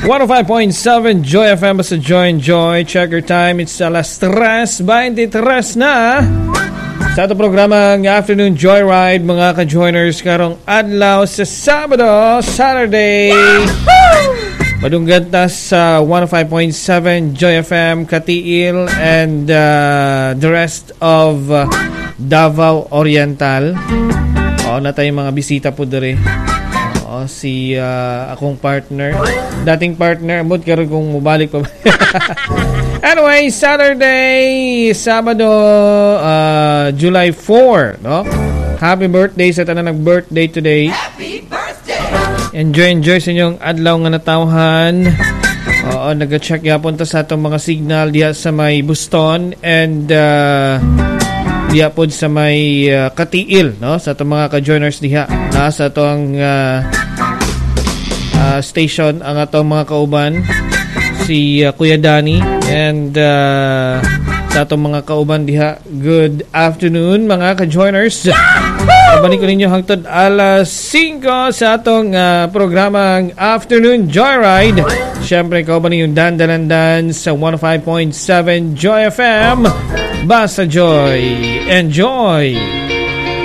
105.7 Joy FM, basta Joy and Joy. Check your time. It's alas 3:23 na. Sa ato programa ang Afternoon Joyride, mga ka-joiners, karong adlaw sa Sabado, Saturday. Madunggan ta sa 105.7 Joy FM, Cateel and the rest of Davao Oriental. Oo, na tayong mga bisita po diri. Oo, si akong partner. Dating partner, amot karon kung mubalik pa ba. Anyway, Saturday, Sabado, July 4, no? Happy birthday sa tanan nag-birthday today. Happy birthday! Enjoy, enjoy sa inyong adlaw nga natawhan. Oo, nag-check yapon ta sa atong mga signal diha sa may Buston and diha pod sa may Cateel, no? Sa atong mga ka-joiners diha. Nasa atong station ang atong mga kauban, si Kuya Danny and sa atong mga kauban diha. Good afternoon, mga ka-joiners. Kabalik ko ninyo hangtod alas 5 sa atong programang Afternoon Joyride. Siyempre, kauban ninyong Dan Dalandan sa 105.7 Joy FM. Basta Joy. Enjoy!